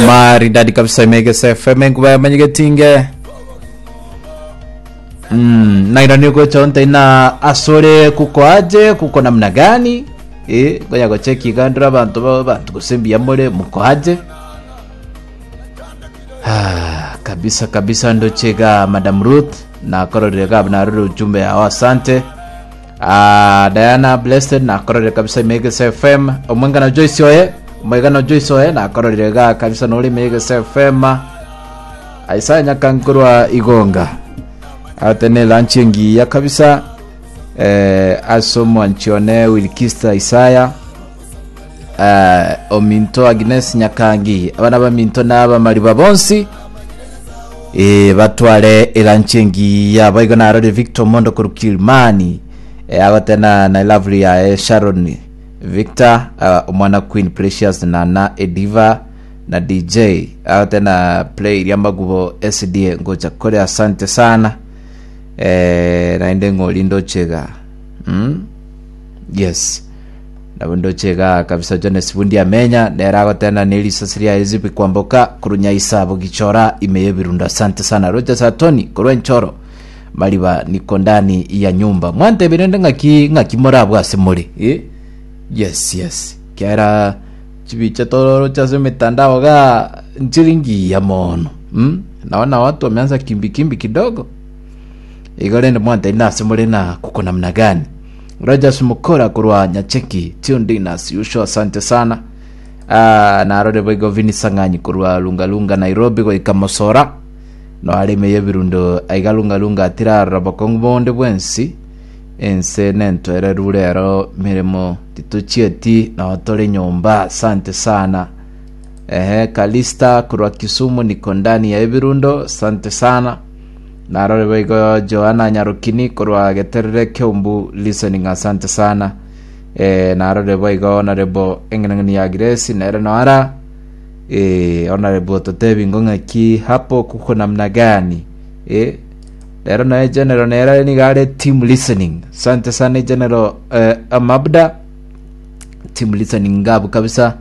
Maridadi kabisa imegesa FM enkuba yamanyegetinge. Nairani gocha onte na asore kuko aje kuko namna gani? Eh, goya gocheki igandura abantu ba abantu gose mbuya more muko aje. Ah, kabisa kabisa ndochega Madam Ruth nakororire gab narore ujumbe yao asante. Ah, Diana Blessed nakororire kabisa Imegesa FM omwengana Joyce oye omwegano Joyce oye nakororire ga kabisa nore Imegesa FM Isaiah Nyakankorwa Igonga ate ne lunch engiya kabisa eh, ase omwanchi one Wilkista Isaiah eh, ominto Agnes Nyakangi abana baminto na abamariba bonsi eh, batware elanchi engiya boigo narore Victor Mondo korwa Kilimani eh, agotena na lovely yaye Sharon Victor uh, omwana Queen Precious Nana Ediva na DJ agotena play iria magubo SDA ngocha kore asante sana eh, naende ng'ori ndochega mm? yes Nabo ndoche igaa kabisa Jones Bundi amenya nere agotena ne risasi riaye Zipi Kwamboka korwa Nyaisa Bogichora ime y'ebirundo asante sana Rogers Atoni korwa Enchoro Mariba niko ndani ya nyumba mwantebie rende ng'aki ng'aki morabwo ase more eh? Yes yes kiagera chibicha toroche ase emitandao igaa nchiri ngiya mono mm? Naona watu wameanza kimbi kimbi kidogo igo rende mwantebie nase more na kuko namna gani Rogers Mukora korwa Nyacheki tuned in as usual asante sana. Ah, narore boigo Vini Sang'anyi korwa Lungalunga Nairobi goika Mosora no areme yebirundo aiga Lungalunga atirarora bokong'u bonde bwensi ense nentoereru rero miremo titochieti nao tore nyomba asante sana. Ehe, Kalista korwa Kisumu niko ndani ya ebirundo asante sana. Narore boigo Joana Nyarokini korwa Geterere Keumbu listening asante sana. Eh, narore boigo Honorable eng'enang'eni ya Grace nere noara eh, Honorable totebi ngo ng'aki hapo kuko namna gani eh, rero naye General nere nigo are team listening asante sana General eh, Amabda Team listening ngabu kabisa.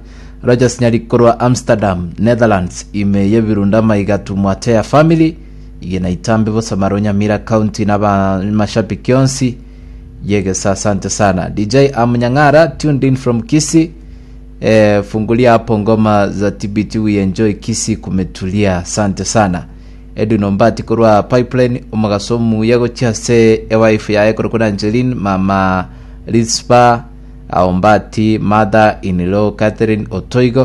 Rogers Nyari korwa Amsterdam, Netherlands ime y'ebirundu amaiga to Mwateya family igena itambe bosamaro Nyamira county na abamashabiki onsi yegesa asante sana. DJ Amunyang'ara tuned in from Kisii. Eh, fungulia hapo ngoma za TBT we enjoy Kisii kumetulia asante sana. Edwin Ombati korwa Pipeline omogaso omuya gochia ase ewife yaye korokwa Angeline mama Rispa Ombati mother in law Catherine Otoigo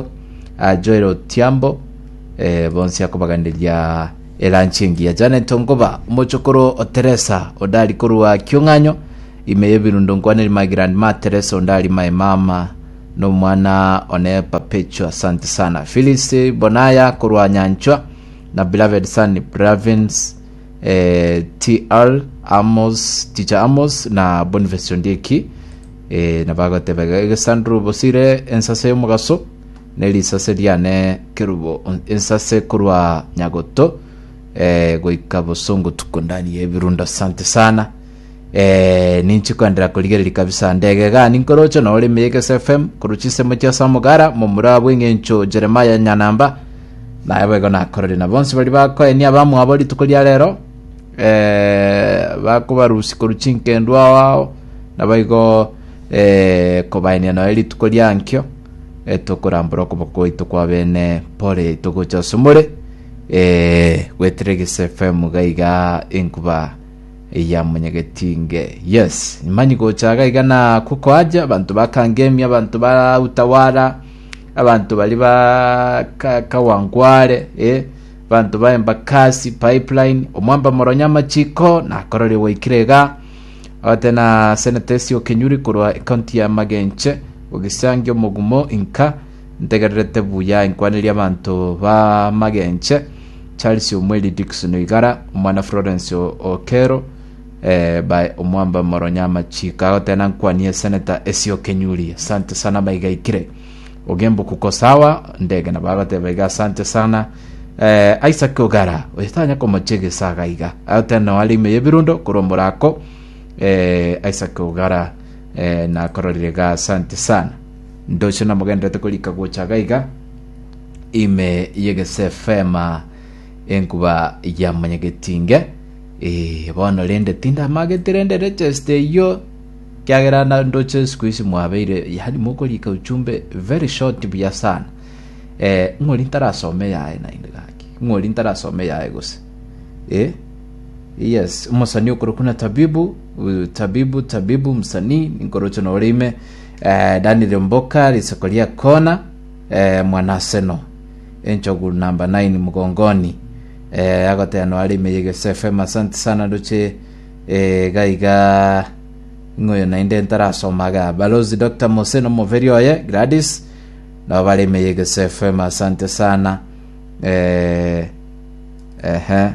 uh, Joel Otiambo eh, bonsi akobaganderia elanchi engiya Janet Ongoba omochokoro o Teresa Odari korwa Kiong'anyo ime y'ebirundo nkwaneri my grandma Teresa Ondari my mama nomwana one Perpetua asante sana Phyllis Bonaya korwa Nyanchwa na beloved son Bravins eh, TR Amos Teacher Amos na Boniface Ondieki eh, nabagoteba iga egesanduru bosire ensase y'omogaso ne risase riane kerubo ensase korwa nyagoto eh, goika bosongo tuko ndani y'ebirundo asante sana eh, ninchi koenderera korigereria kabisa ndege iga ninkoroche nore ime y'Egesa FM korwa chinsemo chia Samugara momura bw'eng'encho Jeremiah Nyanamba Naye boigo nakorire na bonsi baria bakoenia abamwabo rituko ria rero, eh, bakobarusia korwa chinkendwa ao ao, naboigo eh, kobaenia nonya rituko ria ankio, eh, tokorambora okoboko gwaito kwa bene pore yaito gocha ase more, eh, goetera Egesa FM iga iga enkuba ya monyagetinge. Yes, manyi gocha iga iga na kukoaja abanto ba Kangemi, abanto ba Utawala, Abanto baria ba ka- Kawangware, eh, abanto ba Embakasi, Pipeline, omwamba moronya amachiko, nakorore gwaikire iga. Abate na Senator Esio Kenyuri korwa ekaunti ya Magenche, ogisangi omogumo inka, ntegererete buya inkwanerie abanto ba Magenche, Charles Omweri Dickson Oigara, omwana Florence O- Okero, eh, by omwamba moronya amachiko agotena nkwanie Senator Esio Kenyuri asante sana maiga ikire ogembo kuko sawa ndege nabo agoteba iga asante sana eh, Isaac Ogara oyo tanya komochegesa iga iga agotena are ime y'ebirundo korwa morako eh, Isaac Ogara eh, nakororire iga asante sana ndoche namogenderete korika gocha iga iga. ime y'Egese FM enkuba ya Mwanyagetinge. Eh, bono rende tindamagete rende register eyio kiagera na ndoche siku hizi mwabeire yani mokorika ujumbe very short buya sana. Eh, ng'ori ntarasoma eyaye naende gaki. Ng'ori ntarasoma eyaye gose. Eh? Yes, omosani okorokwa na Tabibu, uh, Tabibu, Tabibu msanii ninkoroche nore ime eh, Daniel Mboka riseko ria kona eh, mwanaseno enchogu namba 9 mgongoni eh, agoteba noare ime yegese FM asante sana ndoche eh, gaiga ng'oyo naende ntarasoma ga balozi Dr. Mose nomoveri oye Gladys nabo bare ime yegese FM asante sana eh, Ehe,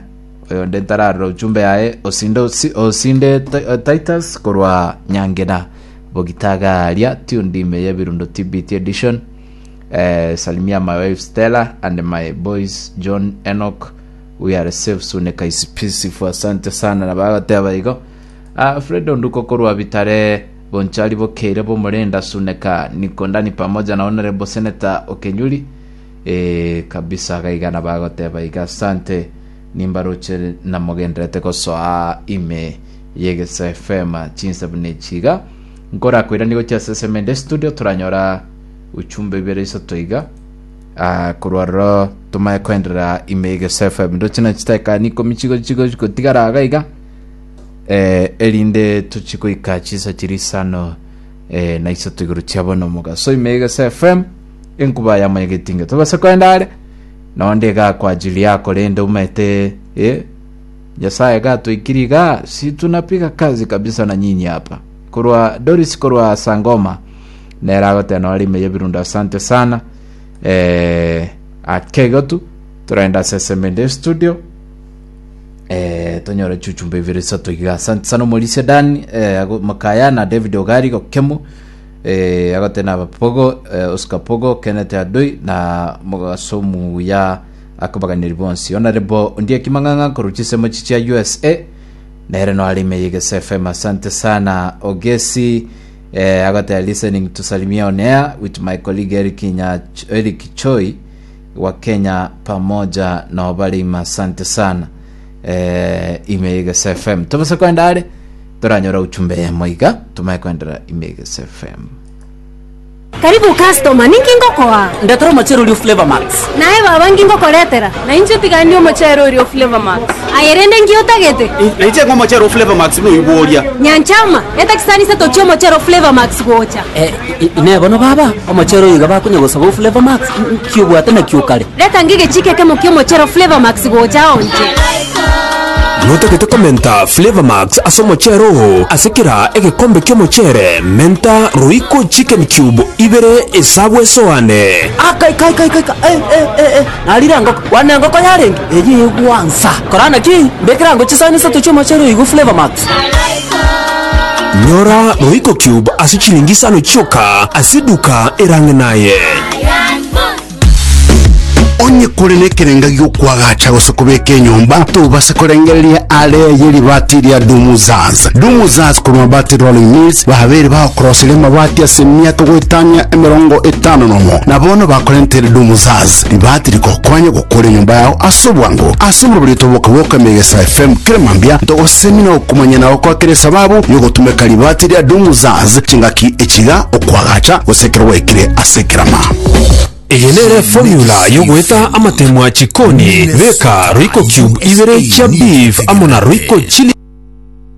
oyonde ntararora ujumbe yaye osinde osi- osinde Ti- eh, Titus korwa Nyangena Bogitaga aria tuned ime y'ebirundo TBT edition eh, salimia my wife Stella and my boys John Enoch we are safe Suneka is peaceful asante sana na bagateba igo ah, Fred Onduko korwa Bitare Bonchari Bokeire Bomorenda Suneka niko ndani pamoja na Honorable Senator Okenyuri Ee, kabisa gaiga nabagoteba iga asante nimbaroche namogenderete gosoa ime y'Egesa FM chinsa buna echi iga nkorakoiranie gochia ase Semende studio toranyora uchumbe ibere isato iga Ah, korwa ororo tomaye koenderera ime y'Egesa FM ndoche na chidakika ni ikomi chigo chigo chigotigara iga iga eh, erinde tochi goika chinsa chiria isano eh, na isato igoro chia bono mogaso ime y'Egesa FM Enkuba ya mwanyagetinge tobase koenda are nonde iga kwa ajili yako rende omanyete eh, Nyasaye gatoikiri iga si tunapiga kazi kabisa na nyinyi hapa korwa Doris korwa Sangoma nere agoteba nore ime y'ebirundo asante sana eh, ake igo tu toraenda ase SMD studio eh, tonyore chuchumba ibere isato iga asante sana omorisia Dan eh, ago- Makaya na David Ogari gokemu Eh, agote na Pogo, eh, Oscar Pogo, Kenneth Adoi na mogaso muya akobaganeri bonsi. Honorable Ondieki Mang'ang'a korwa chisemo chichia USA nere no arime Yegesa FM. Asante sana Ogesi eh, agote listening to Salimia on air with my colleague Eric, Nya, Eric Choi wa Kenya pamoja na obarima. Asante sana eh, ime Yegesa FM. Tobasa kwenda are Toranyore uchumbe eyemo iga, tomaye koenderera ime Egesa FM. Karibu customer, ninki ngokoa? Ndetera omochere oria o Flavour Max. Naye baba nki ngokoretera? Na inche tiga ndie omochere oria o Flavour Max. Aye rende nki otagete? Nainche ng'a omochere o Flavour Max noigwe oria. Nyanchama, eta chisani isato chi'omochere o Flavour Max gocha. Eh, inee bono baba, omochere oyo iga bakonya gosaba o Flavour Max, nki obwate naki okare? Reta ngige chike ekemo ki'omochero Flavour Max gocha onche. Notagete komenta Flavour Max ase omochere oo ase kera egekombe ki'omochere, menta Royco Chicken Cube ibere esabu esoane. Akai kai kai kai eh eh eh eh narire engoko wane engoko yarenge eye egwansa kora naki mbekera ango chisani isato chi'omochere oyo igo Flavour Max. Nyora Royco Cube ase chilingi isano chioka ase eduka erang'e naye. Onye kore nekerenga gi'okoagacha gose kobeka enyomba, tobasa korengereria are ye ribati ria Dumuzaz. Dumuzaz korwa Mabati Rolling Mills babeire bagokoroseria amabati ase emiaka goetania emerongo etano nomo, na bono bakorentere Dumuzaz ribati rigokonya gokora enyomba yao ase obwango. Ase omorobori otoboka bwoka Megesa FM kera mambia ntogosemi na okomanya na gokoa kera esababu yogotumeka ribati ria Dumuzaz chingaki echiga okoagacha gose ekero gwaikire ase ekerama. Eye nere formula y'ogoeta amatemwa chikoni, beka Royco cube ibere chia beef amo na Royco chili.